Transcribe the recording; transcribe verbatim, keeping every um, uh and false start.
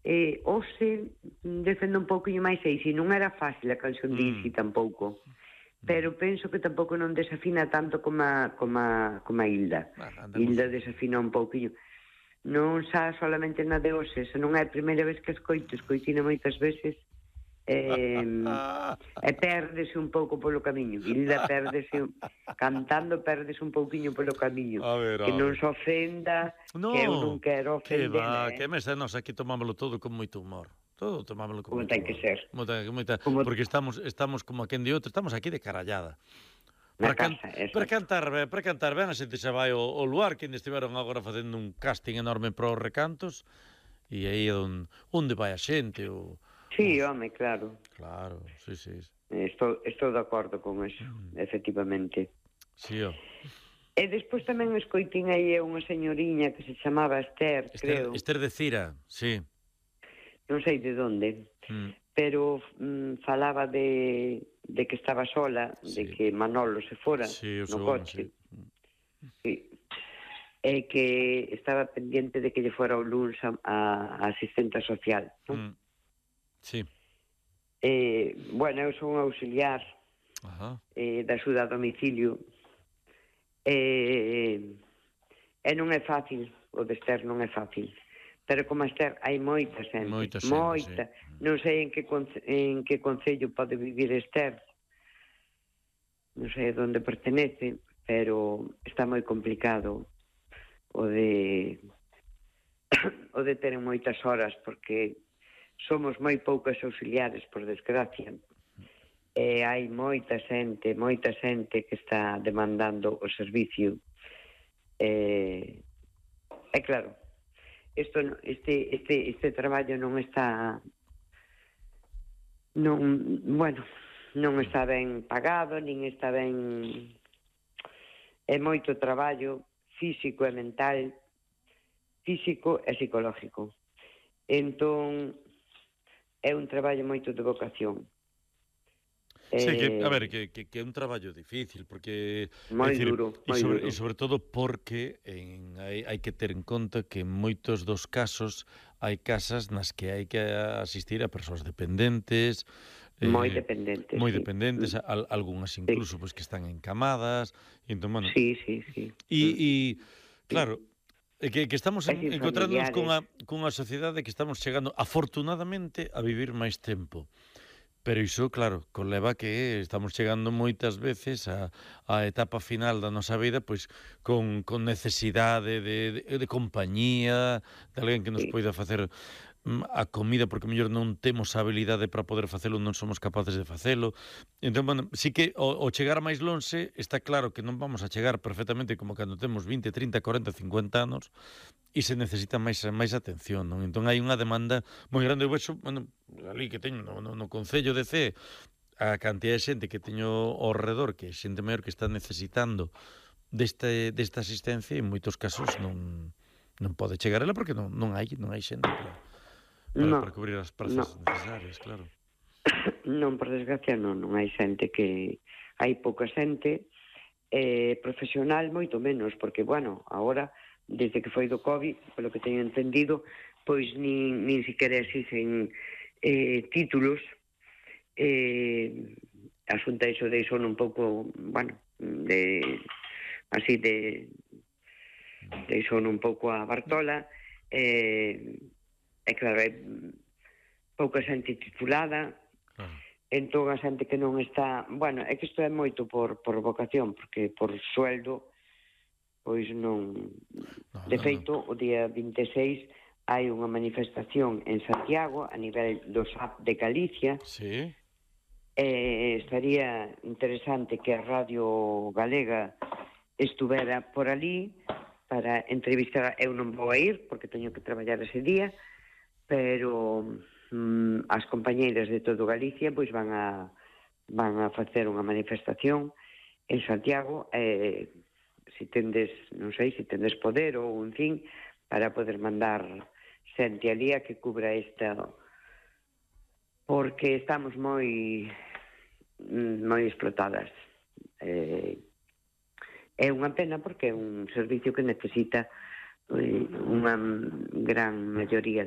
eh, hoxe defendo un pouquinho máis aí, se non era fácil a canción de Isi Mm. tampouco, pero penso que tampouco non desafina tanto como a, como a, como a Hilda. Bueno, andamos- Hilda desafina un pouquinho. Non xa solamente na de hoxe, se non é a primeira vez que escoito, escoitina moitas veces, eh, e pérdese un pouco polo camiño. Hilda pérdese, cantando pérdese un pouquiño polo camiño. A ver, que a non ver. se ofenda, No, que eu non quero que va, ofendela, que eh? mes nós aquí tomámoslo todo con moito humor. Todo tomámoslo con Como moito ten humor. que ser. Moita, moita, Como- porque estamos estamos como aquén de outro, estamos aquí de carallada. Na Para, can, casa, para exacto. cantar ben, para cantar ben, a xente xa vai ao, ao lugar, que ainda estiveron agora facendo un casting enorme para os recantos, e aí é onde, onde vai a xente, o... Sí, os- home, claro. Claro, sí, sí. Estou, estou de acordo con eso, Mm. efectivamente. Sí, ó. E despois tamén escoitín aí unha señoriña que se chamaba Esther, Esther, creo. Esther de Cira, sí. Non sei de onde, Mm. pero mm, falaba de, de que estaba sola, Sí. de que Manolo se fora Sí, o no seu home, coche. sí. Sí. E que estaba pendiente de que lle fora o luns a, a asistenta social, non? Mm. Sí. Eh, bueno, eu son auxiliar Ajá. eh, da axuda a domicilio e, e non é fácil, o de Esther non é fácil, pero como a Esther hai moita xente, Moita xente, moita, sí. non sei en que, conce- en que concello pode vivir Esther, non sei a onde pertenece, pero está moi complicado o de o de ter moitas horas, porque somos moi poucas auxiliares, por desgracia, e hai moita xente, moita xente que está demandando o servicio. E, e claro, isto, este, este, este traballo non está non, bueno, non está ben pagado, nin está ben, é moito traballo físico e mental, físico e psicológico. Entón, é un traballo moito de vocación. Sí, que, Eh, a ver, que, que, que é un traballo difícil, porque... moi é dicir, duro, e moi sobre, duro. e sobre todo porque en, hai, hai que ter en conta que en moitos dos casos hai casas nas que hai que asistir a persoas dependentes, Moi eh, dependentes, moi sí. dependentes, Mm. al, algunhas incluso Sí. pois que están encamadas, e entón, bueno, Sí, sí, sí. e, Mm. e claro, é que, que estamos E en, sin encontrándonos cunha, familiares. cunha sociedade que estamos chegando, afortunadamente, a vivir máis tempo. Pero iso, claro, conleva que estamos chegando moitas veces a, a etapa final da nosa vida pois con, con necesidade de, de, de compañía, de alguén que nos Sí. poida facer mm, a comida, porque mellor non temos a habilidade para poder facelo, non somos capaces de facelo. Entón, bueno, sí que o, o chegar máis lonxe está claro que non vamos a chegar perfectamente como cando temos vinte, trinta, cuarenta, cincuenta anos, e se necesita máis máis atención, non? Entón hai unha demanda moi grande. Eu vexo, bueno, ali que teño no, no, no Concello de Cee, a cantidad de xente que teño ao redor, que é xente maior que está necesitando deste, desta asistencia, e en moitos casos non, non pode chegar ela porque non, non hai non hai xente para, para, No, para cubrir as prazas no. necesarias, claro. Non, por desgracia, non. Non hai xente que... Hai pouca xente, eh, profesional moito menos, porque, bueno, agora, desde que foi do COVID, polo que teño entendido, pois nin, nin siquiera existen eh, títulos. Eh, a Xunta iso deixou un pouco, bueno, de así de deixou un pouco a Bartola, eh, e claro, é pouca xente titulada, Claro. entón a xente que non está, bueno, é que isto é moito por, por vocación, porque por sueldo pois non. No, De no, feito, o día vinte e seis hai unha manifestación en Santiago a nivel do S A P de Galicia. Sí. Eh, estaría interesante que a Radio Galega estuvera por ali para entrevistar. Eu non vou a ir porque teño que traballar ese día, pero mm, as compañeiras de todo Galicia pois van a van a facer unha manifestación en Santiago, eh, si tendes, non sei, si tendes poder ou, en fin, para poder mandar xente ali a que cubra esta, porque estamos moi moi explotadas. Eh, é unha pena porque é un servicio que necesita eh, unha gran maioría